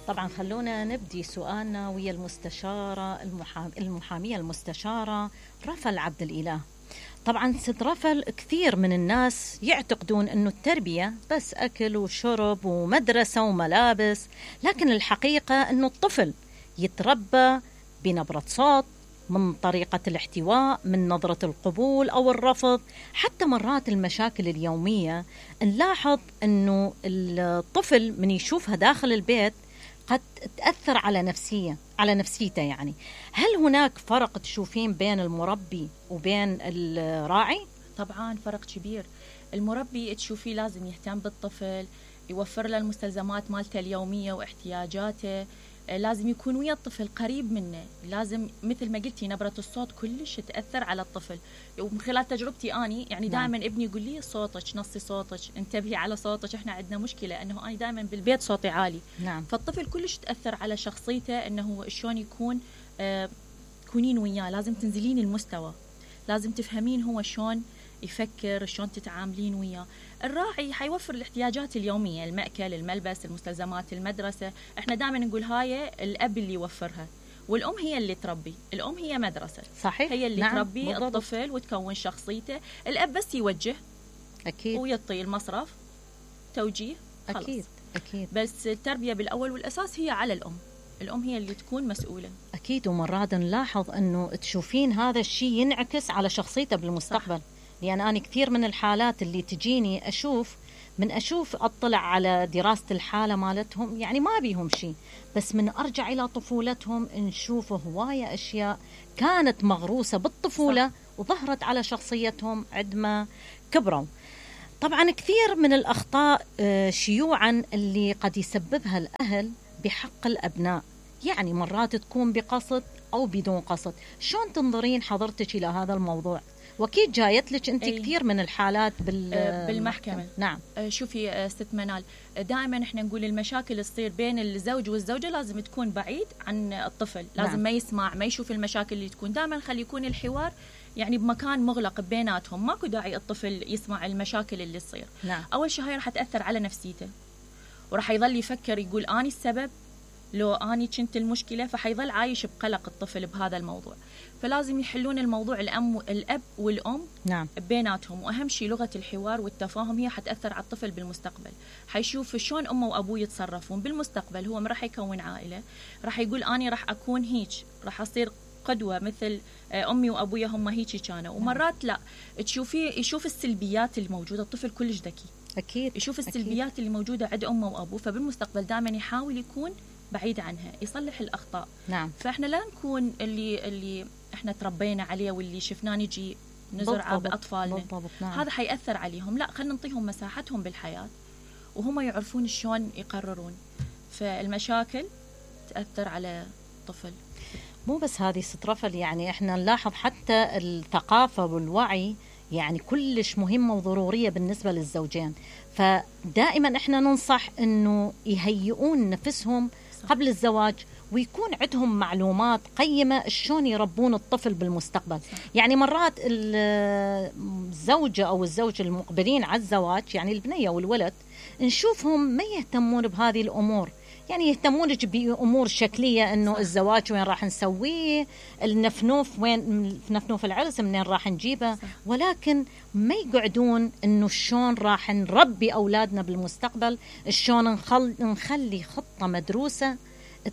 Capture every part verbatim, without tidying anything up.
طبعا خلونا نبدي سؤالنا ويا المستشارة المحام... المحامية المستشارة رفل عبد الإله. طبعا ست رفل، كثير من الناس يعتقدون أنه التربية بس أكل وشرب ومدرسة وملابس، لكن الحقيقة أنه الطفل يتربى بنبرة صوت، من طريقة الاحتواء، من نظرة القبول أو الرفض، حتى مرات المشاكل اليومية. نلاحظ أنه الطفل من يشوفها داخل البيت قد تأثر على نفسية على نفسيته. يعني هل هناك فرق تشوفين بين المربي وبين الراعي؟ طبعا فرق كبير. المربي تشوفيه لازم يهتم بالطفل، يوفر له المستلزمات مالته اليومية واحتياجاته، لازم يكون ويا الطفل قريب منه، لازم مثل ما قلتي نبرة الصوت كلش تأثر على الطفل. ومن خلال تجربتي أني يعني دائما نعم. ابني يقول لي صوتك، نصي صوتك، انتبهي على صوتك، احنا عندنا مشكلة أنه أنا دائما بالبيت صوتي عالي. نعم. فالطفل كلش تأثر على شخصيته، أنه شلون يكون آه تكونين وياه، لازم تنزلين المستوى، لازم تفهمين هو شلون يفكر، شلون تتعاملين وياه. الراعي حيوفر الاحتياجات اليومية، المأكل، الملبس، المستلزمات، المدرسة. احنا دائما نقول هاي الأب اللي يوفرها، والأم هي اللي تربي. الأم هي مدرسة، صحيح. هي اللي نعم. تربي بالضبط. الطفل وتكون شخصيته. الأب بس يوجه أكيد ويعطي المصرف، توجيه، خلص. أكيد أكيد. بس التربية بالأول والأساس هي على الأم، الأم هي اللي تكون مسؤولة. أكيد. ومرات نلاحظ أنه تشوفين هذا الشيء ينعكس على شخصيته بالمستقبل. صح. لأن أنا كثير من الحالات اللي تجيني أشوف من أشوف أطلع على دراسة الحالة مالتهم، يعني ما بيهم شيء، بس من أرجع إلى طفولتهم نشوف هواية أشياء كانت مغروسة بالطفولة. صح. وظهرت على شخصيتهم عندما كبروا. طبعا كثير من الأخطاء شيوعا اللي قد يسببها الأهل بحق الأبناء، يعني مرات تكون بقصد أو بدون قصد. شلون تنظرين حضرتك إلى هذا الموضوع؟ وأكيد جايت لك أنت كثير من الحالات بالمحكمة. نعم. شوفي ست منال، دائما احنا نقول المشاكل تصير بين الزوج والزوجة لازم تكون بعيد عن الطفل. لازم نعم. ما يسمع، ما يشوف المشاكل اللي تكون. دائما خلي يكون الحوار يعني بمكان مغلق بيناتهم، ماكو داعي الطفل يسمع المشاكل اللي تصير. نعم. أول شيء هاي راح تأثر على نفسيته، وراح يظل يفكر يقول أني السبب، لو أني كنت المشكلة، فحيظل عايش بقلق الطفل بهذا الموضوع. فلازم يحلون الموضوع الأم الأب والأم نعم. بيناتهم. وأهم شيء لغة الحوار والتفاهم، هي حتأثر على الطفل بالمستقبل. حيشوف شلون أمه وأبوه يتصرفون بالمستقبل. هو راح يكون عائلة، راح يقول أني راح أكون هيك، راح أصير قدوة مثل أمي وأبويا هم هيك كانوا. ومرات لا، تشوفي يشوف السلبيات الموجودة. الطفل كلش ذكي، أكيد يشوف السلبيات أكيد. اللي موجودة عند أمه وأبوه، فبالمستقبل دائما يحاول يكون بعيد عنها، يصلح الأخطاء. نعم. فإحنا لا نكون اللي اللي إحنا تربينا عليه واللي شفناه نجي نزرعه بأطفالنا. نعم. هذا حيأثر عليهم. لا، خلينا نعطيهم مساحتهم بالحياة وهم يعرفون شلون يقررون. فالمشاكل تأثر على الطفل. مو بس هذه ست رفل، يعني إحنا نلاحظ حتى الثقافة والوعي يعني كلش مهمة وضرورية بالنسبة للزوجين. فدائما إحنا ننصح إنه يهيئون نفسهم قبل الزواج، ويكون عندهم معلومات قيمة شلون يربون الطفل بالمستقبل. صح. يعني مرات الزوجة أو الزوج المقبلين على الزواج، يعني البنية والولد، نشوفهم ما يهتمون بهذه الأمور. يعني يهتمون بأمور شكلية، إنه الزواج وين راح نسويه، النفنوف وين، نفنوف العرس منين راح نجيبه. صح. ولكن ما يقعدون إنه شلون راح نربي أولادنا بالمستقبل، شلون نخل نخلي خطة مدروسة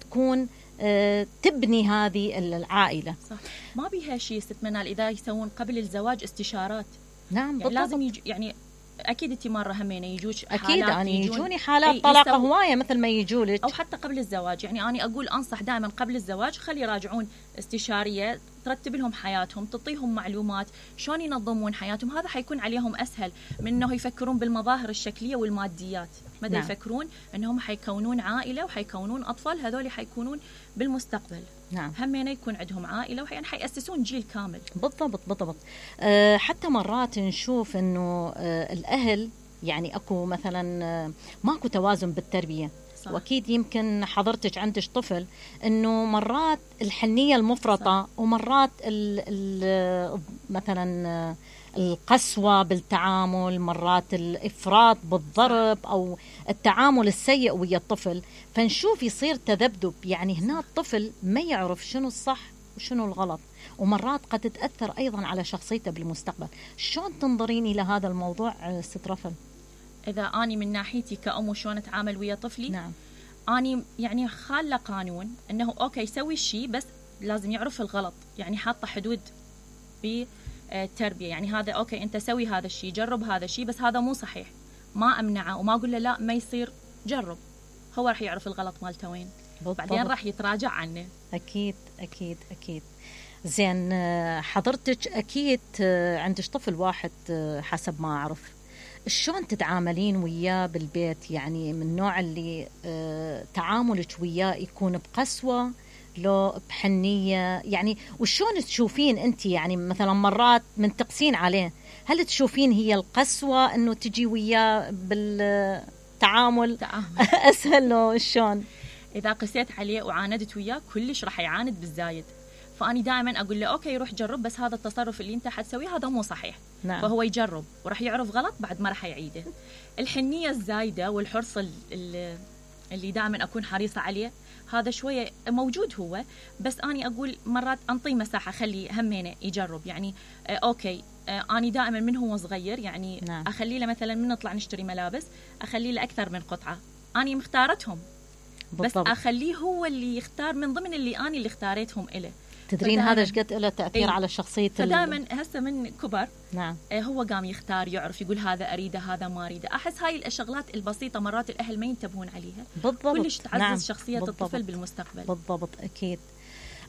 تكون آه تبني هذه العائلة. صح. ما بيها شيء ست منال إذا يسوون قبل الزواج استشارات. نعم. يعني لازم يج... يعني أكيد أنت مرة همينة يجوش حالات، أكيد أنا يجوني حالات طلاق هواية مثل ما يجولك، أو حتى قبل الزواج. يعني أنا أقول أنصح دائما قبل الزواج خلي يراجعون استشارية ترتب لهم حياتهم، تعطيهم معلومات شلون ينظمون حياتهم. هذا حيكون عليهم أسهل من أنه يفكرون بالمظاهر الشكلية والماديات. ماذا نعم. يفكرون أنهم حيكونون عائلة وحيكونون أطفال، هذول حيكونون بالمستقبل. نعم. همين يكون عندهم عائلة وحين حيأسسون جيل كامل. بالضبط بالضبط. أه حتى مرات نشوف إنه أه الأهل يعني أكو مثلا أه ماكو توازن بالتربية. صح. وأكيد يمكن حضرتك عندك طفل، إنه مرات الحنية المفرطة. صح. ومرات ال ال مثلا القسوة بالتعامل، مرات الإفراط بالضرب أو التعامل السيء ويا الطفل، فنشوف يصير تذبذب. يعني هنا الطفل ما يعرف شنو الصح وشنو الغلط، ومرات قد تتأثر أيضا على شخصيته بالمستقبل. شلون تنظرين إلى هذا الموضوع ست رفل؟ إذا أني من ناحيتي كأم وشون أتعامل ويا طفلي، نعم. أني يعني خالة قانون أنه أوكي سوي الشيء بس لازم يعرف الغلط، يعني حاطة حدود بالتربية. يعني هذا أوكي أنت سوي هذا الشيء، جرب هذا الشيء، بس هذا مو صحيح، ما أمنعه وما أقول له لا ما يصير، جرب، هو راح يعرف الغلط مالته وين، بعدين راح يتراجع عنه. أكيد أكيد أكيد. زين، حضرتك أكيد عندك طفل واحد حسب ما أعرف، شلون تتعاملين وياه بالبيت؟ يعني من النوع اللي تعاملك وياه يكون بقسوة لو بحنية؟ يعني وشون تشوفين أنت، يعني مثلا مرات من تقسين عليه، هل تشوفين هي القسوة أنه تجي وياه بالتعامل أسهل له؟ شلون إذا قسيت عليه وعاندت وياه كلش راح يعاند بالزايد، فأني دائما أقول له أوكي روح جرب، بس هذا التصرف اللي أنت حتسويه هذا مو صحيح. نعم. فهو يجرب وراح يعرف غلط، بعد ما راح يعيده. الحنية الزايدة والحرص اللي, اللي دائما أكون حريصة عليه هذا شوية موجود هو، بس أني أقول مرات أنطي مساحة، خلي همينه يجرب. يعني آه أوكي آه أني دائما من هو صغير يعني نعم. أخلي له مثلا من نطلع نشتري ملابس أخلي له أكثر من قطعة، أني مختارتهم بالضبط. بس أخليه هو اللي يختار من ضمن اللي أني اللي اختاريتهم إله. تدرين هذا ايش قد له تأثير ايه؟ على شخصية. فدائما هسه من كبر نعم هو قام يختار، يعرف يقول هذا أريده هذا ما أريده. أحس هاي الشغلات البسيطة مرات الأهل ما ينتبهون عليها، بالضبط. كلش تعزز نعم. شخصية بالضبط. الطفل بالمستقبل. بالضبط أكيد.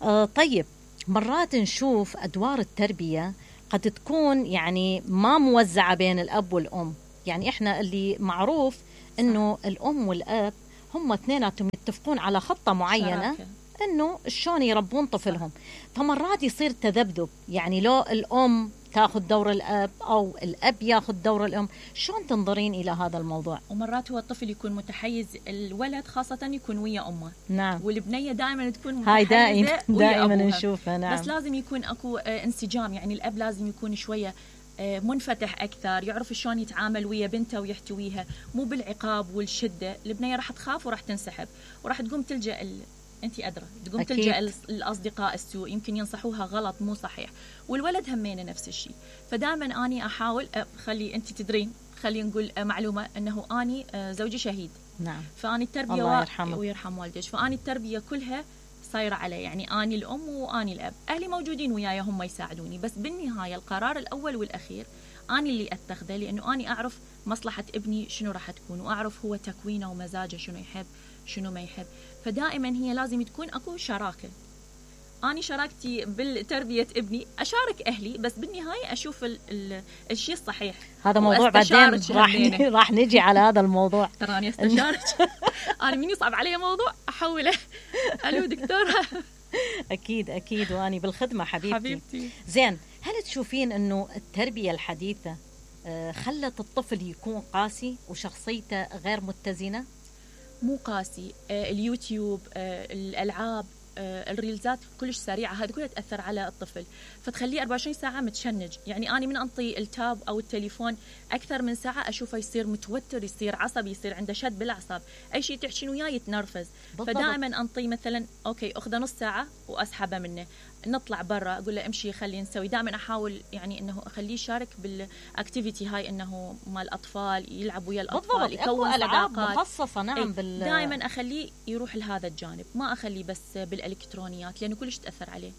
آه طيب، مرات نشوف أدوار التربية قد تكون يعني ما موزعة بين الأب والأم. يعني إحنا اللي معروف إنه الأم والأب هم اثنيناتهم يتفقون على خطة معينة شراكة. إنه شلون يربون طفلهم. فمرات يصير تذبذب، يعني لو الأم تاخذ دور الأب أو الأب ياخذ دور الأم. شلون تنظرين إلى هذا الموضوع؟ ومرات هو الطفل يكون متحيز، الولد خاصة يكون ويا أمه. نعم. والبنية دائما تكون متحيزة هاي دائما دائما نشوفها. نعم. بس لازم يكون أكو انسجام، يعني الأب لازم يكون شوية منفتح أكثر، يعرف شلون يتعامل ويا بنته ويحتويها، مو بالعقاب والشدة. البنية راح تخاف وراح تنسحب وراح تقوم تلجأ ال... أنت أدرى تقوم أكيد. تلجأ الأصدقاء السوء، يمكن ينصحوها غلط مو صحيح. والولد همينه نفس الشيء. فدائما أني أحاول خلي أنت تدرين، خلي نقول معلومة أنه أني زوجي شهيد. نعم. فأني التربية الله يرحمه ويرحم والديك، فأني التربية كلها صايرة علي، يعني أني الأم وأني الأب. أهلي موجودين وياي هم يساعدوني، بس بالنهاية القرار الأول والأخير أني اللي أتخذه، لأنه أني أعرف مصلحة ابني شنو راح تكون، وأعرف هو تكوينه ومزاجه شنو يحب شنو ما يحب. فدائما هي لازم تكون أكو شراكة. أنا شاركتي بالتربية ابني، أشارك أهلي، بس بالنهاية أشوف ال ال الشيء الصحيح. هذا موضوع بعدين راح راح نجي على هذا الموضوع. تراني استشارك. أنا من يصعب علي موضوع أحوله. ألو دكتورة. أكيد أكيد، وأني بالخدمة حبيبتي. حبيبتي. زين، هل تشوفين إنه التربية الحديثة خلت الطفل يكون قاسي وشخصيته غير متزنة؟ مو قاسي. آه اليوتيوب، آه الألعاب، آه الريلزات كلش سريعة، هذا كلها تأثر على الطفل، فتخليه أربعة وعشرين ساعة متشنج. يعني أنا من أنطي التاب أو التليفون أكثر من ساعة أشوفه يصير متوتر، يصير عصبي، يصير عنده شد بالأعصاب، أي شيء تحكين وياه يتنرفز. فدائما أنطي مثلا أوكي أخذ نص ساعة وأسحبه منه، نطلع برا، أقول له امشي خلي نسوي. دائما أحاول يعني إنه أخليه يشارك بالأكتيفيتي هاي، إنه مال الأطفال يلعب ويا الأطفال، يكون صداقات مخصصة. نعم. بال... دائما أخليه يروح لهذا الجانب، ما أخليه بس بالإلكترونيات لأنه كلش تأثر عليه.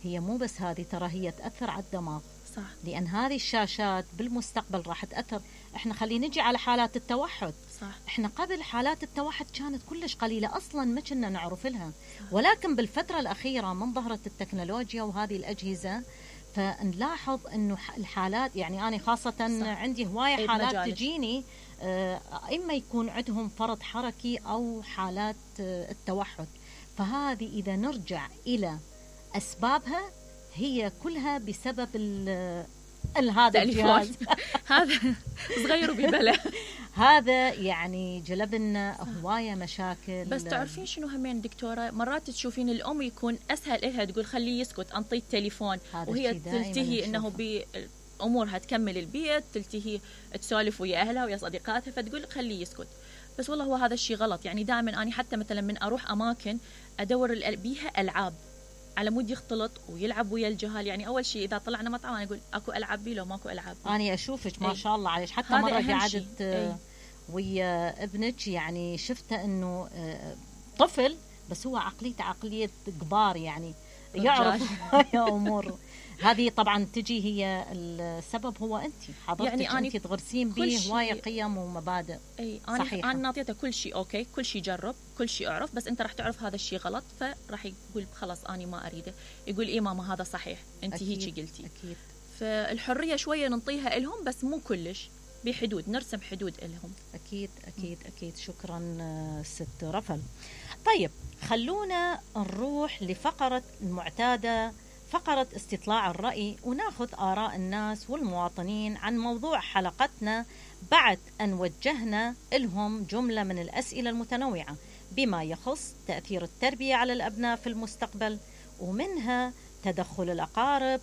هي مو بس هذه، ترى هي تأثر على الدماغ. صح. لأن هذه الشاشات بالمستقبل راح تأثر. إحنا خلينا نجي على حالات التوحد. صح. إحنا قبل حالات التوحد كانت كلش قليلة، أصلاً ما كنا نعرف لها. ولكن بالفترة الأخيرة من ظهرت التكنولوجيا وهذه الأجهزة، فنلاحظ إنه الحالات، يعني أنا خاصة صح. عندي هواية حالات مجالس. تجيني إما يكون عندهم فرط حركي أو حالات التوحد. فهذه إذا نرجع إلى أسبابها هي كلها بسبب هذا الجهاز. هذا صغير وببلا. هذا يعني جلب لنا هوايه مشاكل. بس تعرفين شنو همين دكتوره، مرات تشوفين الام يكون اسهل لها تقول خليه يسكت، انطي التليفون، وهي تلتهي انه امورها تكمل البيت، تلتهي تسولف ويا اهلها ويا صديقاتها، فتقول خليه يسكت. بس والله هو هذا الشيء غلط. يعني دائما اني حتى مثلا من اروح اماكن ادور بيها العاب على مود يختلط ويلعب ويا الجهال. يعني اول شيء اذا طلعنا مطعم انا اقول اكو العاب بي لو ماكو العاب بي. انا اشوفك ما شاء الله عليك، حتى مره قعدت أي. ويا ابنك يعني شفته انه طفل بس هو عقليته عقليه كبار، يعني يعرف هاي امور. هذه طبعا تجي هي السبب هو انت حضرتك، يعني انت تغرسين به هوايه قيم ومبادئ. اي انا صحيحة. انا نعطيته كل شيء اوكي، كل شيء جرب، كل شيء اعرف، بس انت راح تعرف هذا الشيء غلط، فراح يقول خلاص انا ما اريده. يقول اي ماما هذا صحيح، انت هيك قلتي. اكيد. فالحريه شويه ننطيها لهم بس مو كلش، بحدود، نرسم حدود لهم. اكيد اكيد اكيد. شكرا ست رفل. طيب خلونا نروح لفقره المعتاده، فقرة استطلاع الرأي، وناخذ آراء الناس والمواطنين عن موضوع حلقتنا بعد أن وجهنا لهم جملة من الأسئلة المتنوعة بما يخص تأثير التربية على الأبناء في المستقبل، ومنها تدخل الأقارب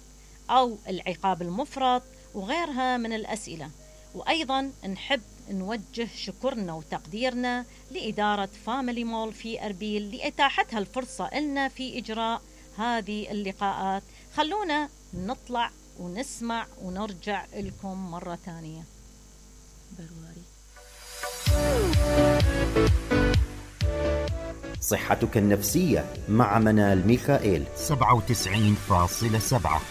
أو العقاب المفرط وغيرها من الأسئلة. وأيضا نحب نوجه شكرنا وتقديرنا لإدارة فاميلي مول في أربيل لإتاحتها الفرصة لنا في إجراء هذه اللقاءات. خلونا نطلع ونسمع ونرجع لكم مرة ثانية. برواري. صحتك النفسية مع منال ميخائيل. سبعة وتسعين فاصلة سبعة.